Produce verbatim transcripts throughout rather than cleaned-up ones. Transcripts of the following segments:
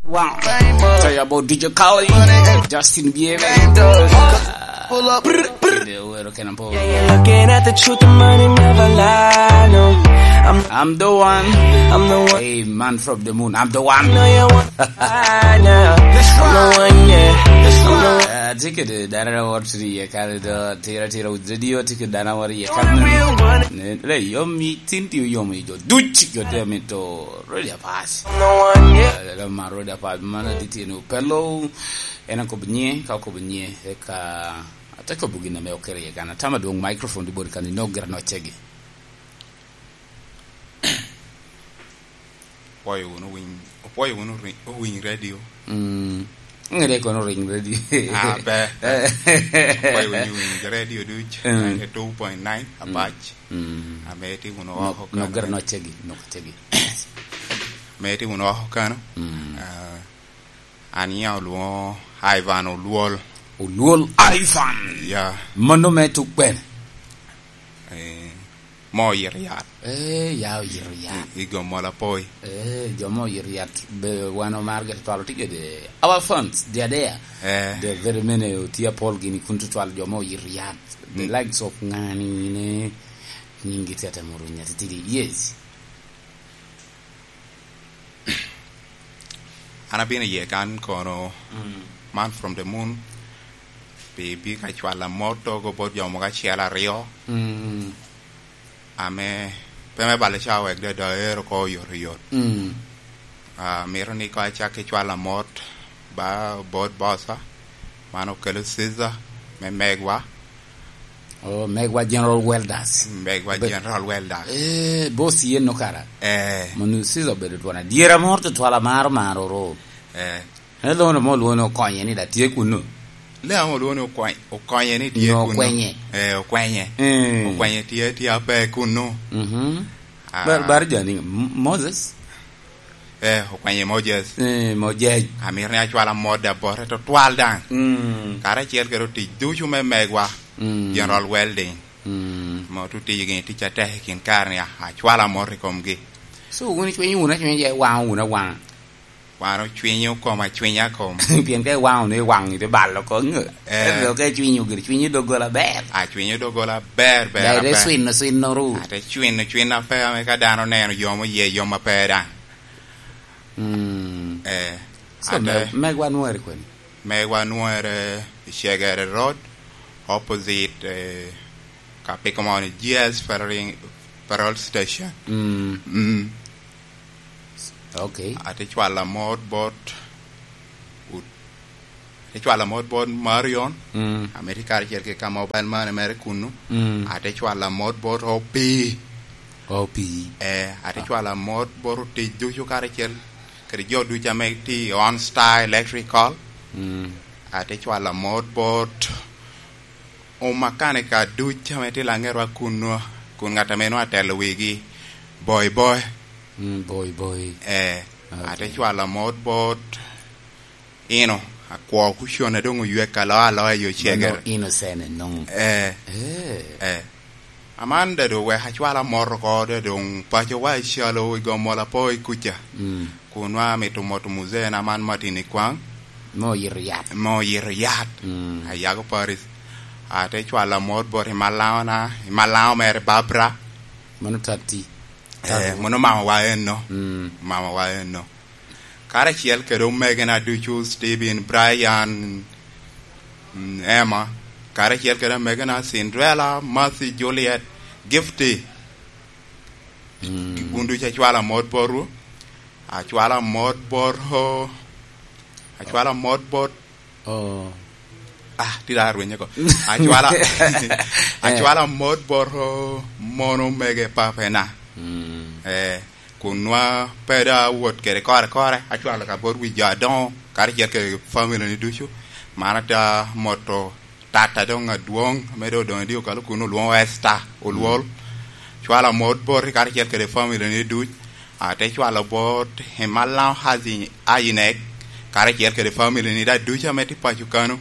Wow. Tell you about D J Khaled, Justin Bieber. Pull up. Kede owero Kenan Paul. Looking at the truth, the money never lie, no. I'm, I'm the one. I'm the one. Hey, man from the moon, I'm the one. Know you want I know. I'm the one, yeah. I'm the one. Ah, tye kede dano a wot ni ye kare do, tira, tira, radio, tye kede dano a wot ye kare. Ne, le, yom i tin ti oyom i jo duc, jo te mito, radio pass. I'm the one, yeah. Ah, le, mar radio pass, man adi tye ni opelo. En akobo nye, ka okobo nye, eka ate kobo gin ame okelo iye kan. Atamo adwoŋ microphone di bot kan inok gira nocegi. Opwoyo wunu winy, opwoyo wunu ri-, owiny radio. Mm. Ŋede kono ring radio. Ah, ber, ber. Opwoyo wunu winy radio duc, mm, ninety-two point nine, mm, Apac. Mm. Ame tye wunu oko kano. Nok gira nocegi, nok cegi. Ame tye wunu oko kano. Mm. Ah, An ya olwoŋo Ivan Olwol. Olwol Ivan. Ya. Mano me tuk bene. Eh, mo oyito yat. Eh, ya oyito yat. I, i Gomola Poi. Eh, jo mo oyito yat. Be wan omar gete twalo tye kede our fans, they are there. Eh. The very many otye apol gini kun tutwal jo mo oyito yat. The, mm, likes of ŋani ne nyingi tete muru nyatitidi. Yes. An abino iye kan kono, mm, Man from the Moon, pi bino ka cwalo amot oko bot jo mogo acel aryo, mm, ame pe me balo ca wek dada ero ko oyotoyot. Mm. Ah, mito ni ko acak ki cwalo amot ba bot bossa, man okelo Caesar me megwa. Oh, megwa General Welders. Megwa General Welders. Eh, boss yen no kara. Eh. Manu Caesar obedo twon adyera moro tutwal amaro maro ro. Eh. En lwono mo lwono okonye ni da tye kuno. Le amo lwono okonye, okonye ni tye kuno. Nyo okwenye. Eh, okwenye. Eh. Okwenye tye, tye ape kuno. Mhm. Ah. Bar, bar jani, M-, Moses. Eh, okwenye Moses. Eh, Moses. Amito ni acwal amot da bote tutwal daŋ. Mm. Karacel kede otic ducu me megwa, mm, General Welding. Mm. Mo tu tiyo gini tic atek i kin kare ni, a-, acwal amot i komgi. So, wun icwinyo wunu acwinya je waŋo wunu awaŋa? Wan ocwinyo kom acwinya kom. Pien ka iwaŋo ni iwaŋo ite balo oko, ŋe. Eh. Ento ka icwinyo giri, cwinyo doggola ber. A, cwinyo doggola ber, ber, ja ite aber. Cwino, cwino ru. Ate cwino, cwino ape ame ka dano neno yom oye yom ape daŋ. Mm. Eh, so, ate me-, megwa nwere kwene? Megwa nwere i Cegere Road, opposite, eh, ka piko mo ni G S Federal, Federal Station. Mm. Mm. Okay. Ate cwalo amot bot ut-, ate cwalo amot bot Marion. Mm. Ame tye karacel ki ka mobile money mere kunnu. Mm. Ate cwalo amot bot Opii. Opii. Eh, ate cwalo amot bot otic ducu karacel kede jo ducu ame tye i On Star Electrical. Mm. Ate cwalo amot bot omakanika duc ame tye Laŋetwa kunnu, kun ŋat ame nwoŋo atelo wigi, Boi Boi. Mm, Boi Boi. Eh, okay. Ate cwalo amot bot, ino, akwo kucone doŋ oywek alo aloa i ocegere. Mano innocent ennoŋo. Eh. Eh. Eh. Aman da doŋ wek acwal amot oko, da doŋ pacowa icalo i Gomola Poi kuca. Mm. Kun nwa amito moto muzee na man Martin Ikwaŋ. Me oyito yat. Me oyito yat. Mm. Ayago Paris. Ate cwalo amot bot i Malaŋo na, i Malaŋo mere Barbara. Mano tatti. Eh, mano mamawa enno. Mm. Mamawa enno. Karacel kede omegena ducu, Stephen, Brian, mm, Emma, karacel kede omegena Cinderella, Mercy, Juliet, Gifty. Mm. Wun ducu acwalo amot botwu. Acwalo amot bot, acwalo amot bot. Oh. Ah, tye da rwenyo ko. Acwalo, eh, acwalo amot bot mono omege papena. Mm. Eh, kun nwa pe da awot kede kore kore, acwalo ka bot wi jo adoŋo, karacel kede family ni ducu. Man ata moto tata doŋ adwoŋ, ame doŋ odoŋ i dye okalo kun olwoŋo Esther Olwol. Mm. Cwalo amot boti karacel kede family ni duc. Ate cwalo bot Emalaŋo Hazi Ayinek, karacel kede family ni da ducu ame tye paco kano.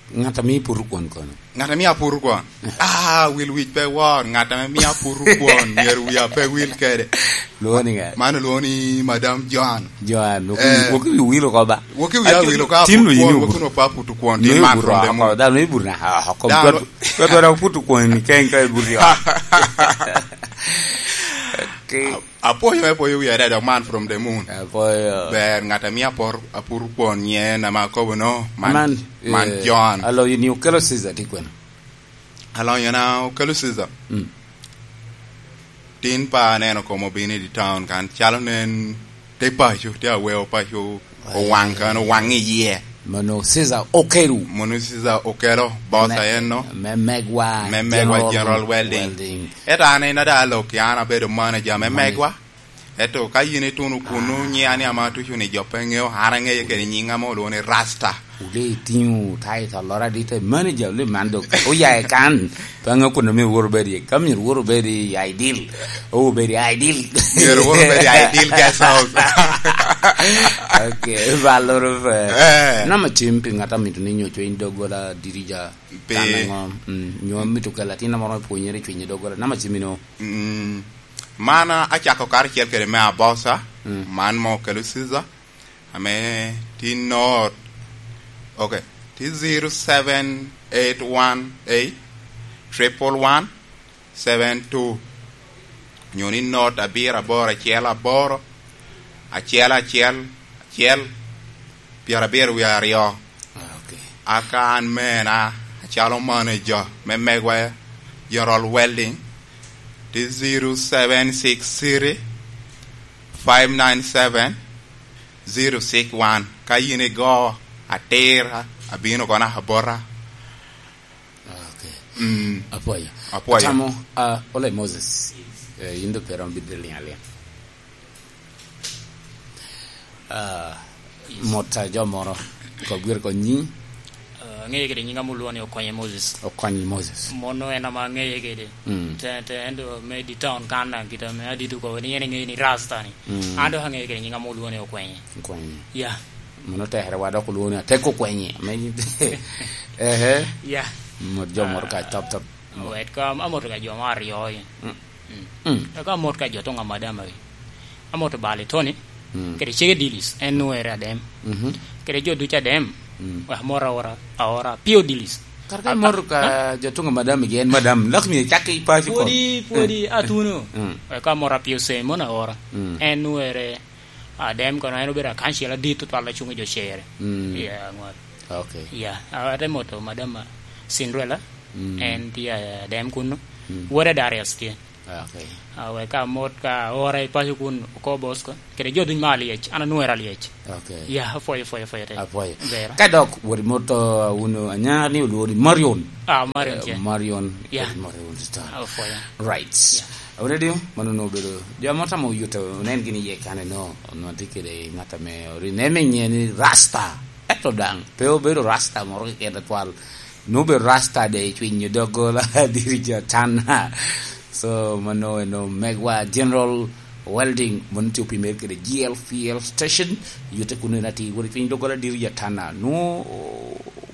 Ŋat a mio iputo kwon kono? Ŋat a mio aputo kwon? Ah, wil wic pe wor. Ŋat a mio aputo kwon, myero wia pe wil kede. Lwongo ni ŋa? Man olwongo ni Madam Joan. Joan, wok i-, eh, wok i wi wil oko ba? Wok i wi wil oko, tin aputo kwon, wok i wi wakuno pa aputo kwon, tin man from the moon. Dano ibuto na, ah, oko. Dano. Twat, twat, twat aputo kwon ni keny ka ibuto ya. Okay. Apwoyo, apwoyo wi adada, man from the moon. Apwoyo. Ber, ŋat a mio apor-, aputo kwon nyen ame akobo no, man, man, man eh, John. Alonyo ni okelo Caesar tye kwene? Alonyo na okelo Caesar. Mm. Tin pa aneno kom obino i town kan, calo nen te paco, te aweo paco, owaŋ kan, owaŋ i yie. Mono Caesar okelo. Mono Caesar okelo, boss a en no. Me megwa, me megwa General General Welding. Welding. Ento an en ada alok, an abedo manager me megwa. Ento ka yin ituno kunu, nyiya ni ama tucu ni jo pe ŋeo, an aŋeye kede nyiŋa mo olwongo ni Rasta. Wule itiŋo title loro adit, manager, wule man dok oya i kan. Pe aŋeo kun omio woro bedi, ka myero woro bedi i Ideal, o bedi i Ideal. Myero woro bedi i Ideal Guest House. Okay, ba loro pe. Eh. Namba cim pi ŋat a mito ni nyo cwiny doggola dirija. Pi kan aŋo? Mm, nyo mito kelo atin moro me pwonyere i cwiny doggola. Namba cim ino? Mm, man acako karacel kede me Abosa, mm, man mo okelo Caesar, ame tin not, okay, ti zero seven eight one eight triple one seven two, nyo ni not abiro aboro acel aboro, acel acel acel, pyerabiro wie aryo. Ah, okay. Aka an mena, acalo manager me megwa General Welding, ti zero seven six three five nine seven zero six one. Ka yin igo atir, abino kono abota. Ah, okay. Mm. Apwoyo. Apwoyo. Atamo, ah, ole Moses. Eh, yin do pe romo bino liŋ aliŋ. Ah, mot a jo moro, kop gire kong nyiŋ. Ah, aŋeye kede nyiŋa mulwoni Okonye Moses. Okonye Moses. Mono en ama aŋeye kede. Mm. Te, te, en do me di town kan daŋ kita me adit oko ni en eŋeye ni Rasta ni. Mm. An dok aŋeye kede nyiŋa mulwoni Okwenye. Okwenye. Ya. Mono tekere wa dok olwongo ni atek Okwenye. Ame, ehe. Ya. Mot jo moro ka, ah, top, top. Wet ka, amoto ka jo mo aryo i. Mm. Mm. Mm. Eka amot ka jo tuŋ amadama wi. Amoto Bali Tony, mm, kede cege Dilis, en nwoŋere Adem. Mhm. Kede jo ducu Adem, mm, wek amot aora, aora Pio Dilis. Kar ka a-, imoto ka a-, jo tuŋ amadama gi, en madam, lak myero icak i paco kon. Pwodi, pwodi, eh, atuno. Mm. Wek amot Apio Sem, mono aora. Mm. En nwoŋere Adem kono, en obedo akancil adit tutwal a cuŋ i jo cere. Mm. Iya, aŋwal. Okay. Iya, a-, ate moto madam Cinderella, mm, en tye Adem kunnu. Mm. Wode Darius tye. Ah, okay. Ah, wek ka amot ka ora i paco kun oko Bosco. Kede jo duny ma alyec, an anwoŋere alyec. Okay. Ya, apwoyo, apwoyo, apwoyo te. Apwoyo. Bera. Ka dok wot imoto, uh, wunu anya ni olwori Marion. Ah, Marion, eh, tye. Marion, ya. Marion Star. Ah, apwoyo. Right. Ya. Awinyo di, mano no obedo. Jo mo tamo oyuto, onen gini ye kane no, onwati kede ŋat ame ori-, neme nye ni Rasta. Eto daŋ, pe obedo Rasta moro keken atwal. Nwoŋo obedo Rasta de i cwiny doggola diri jo Tana. So, mano eno megwa General Welding, mano tye opimere kede G L fuel station, yute kuno en atir, wot i cwiny doggola diri jo Tana. Nwoŋo,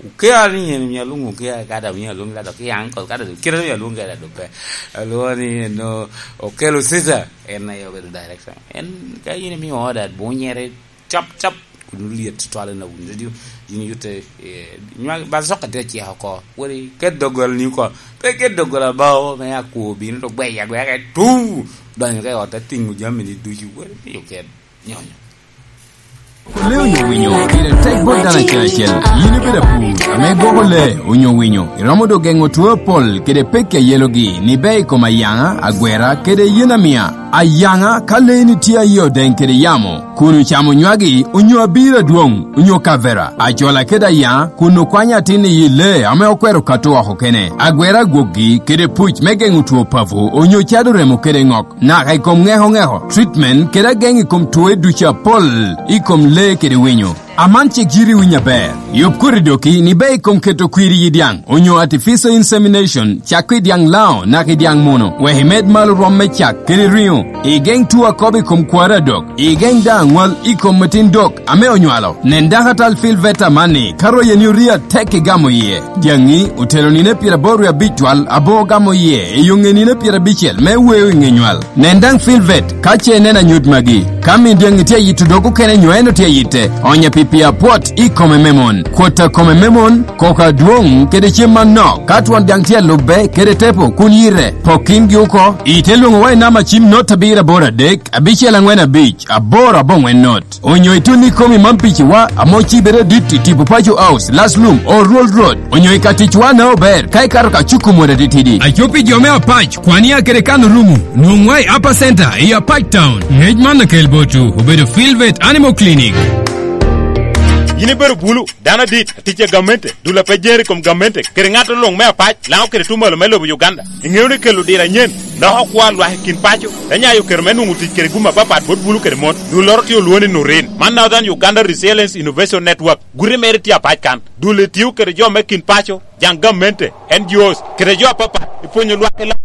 okea ni en omio alwoŋo okea, ka da omio alwoŋo ka da ki uncle, ka da kite omio alwoŋo ka da dope. Alwoŋo ni eno okelo Caesar, en aye obedo director. En, ka in imio order, bunyere, cap, cap, kun olyet tutwal en awinyo radio, yin yute, eh, nywag, ba soka tye acek oko, weri ket doggola ni oko, pe ket doggola bao, me akwo bino to gweya agweya ke tu, donyo ke ot, atiŋo jami ni ducu, weri miyo ket nyonyo. Lee onyo winyo, pire tek bot dano acel acel. Yin ibedo apur, ame gwoko lee onyo winyo, iromo dok geŋo two apol kede pekki a yelogi, ni ber i kom ayaŋa, agwera, kede yen amia. Ayaŋa, ka leeni tye aye odeŋ kede yamo, kun ocamo nywagi, onyo abiro adwoŋ, onyo kavera, acola kede ayaŋa, kun okwanyo atin i yi lee ame okwero kato oko kene, agwera agwokgi, kede puc me geŋo two papo, onyo cado remo kede ŋok, naka i kom ŋeko ŋeko, treatment, kede ageŋ i kom twoe ducu apol, i kom lee kede winyo. Aman cik yiri winyo aber. Yub kodi doki ni be i kom keto kwiri i dyaŋ, onyo artificial insemination, cak i dyaŋ lao, naka i dyaŋ muno, wek imed malo rwom me cak kede riŋo. Igeŋ tuo akobo i kom kwari adok. Igeŋ daŋ aŋwal i kom metin dok ame onywalo. Nen daŋ atal Filvet amanni, ka royeni orie atek igamo iye. Dyaŋi otelo nino pyeraboro wie abic twal, abo ogamo iye, i oŋe nino pyerabicel me weo i ŋe nywal. Nen daŋ Filvet, ka ce ineno anyut magi. Ka min dyaŋi tye ayito dog okene nyo en otye ayitte, onyo pi pii apwot i kome me mon, kwot a kome me mon, koko adwoŋ, kede cem manok. Ka twon dyaŋ tye alubbe kede tepo, kun yite, pok kingi oko. Ite lwoŋo wa i namba cim not abiro aboro adek, abicel aŋwen abic, aboro aboŋwen not. Onyo itun i komi man piciwa, ame ocibere adit i tipo Paco House, Last Room, Old Road, onyo i ka ticwa na ober, ka ikato ka cuku mot atitidi. Aco pi jo me Apac, kwan ya kede kan orumo, nwoŋwa i Upper Center, i Apac Town. Ngec man akel botwu, obedo Filvet Animal Clinic. Yin ibedo bulu, dano adit, atic a gamente, dul a pe jere i kom gamente, kede ŋat luŋ me Apac, Laŋo kede tuŋ malo me lobo Uganda. Iŋeo ni kelo diro anyen, loko kwo a lwak i kin paco, te nyayo kero me nwoŋo tic kede gum apapat bot bulu kede mon. Dulloro tye olwoŋo ni Nurin. Man Northern Uganda Resilience Innovation Network. Guti mere tye apac kan. Dul etio kede jo me kin paco, jaŋ gamente, N G Os, kede jo apapat, i pwonyo lwak i lam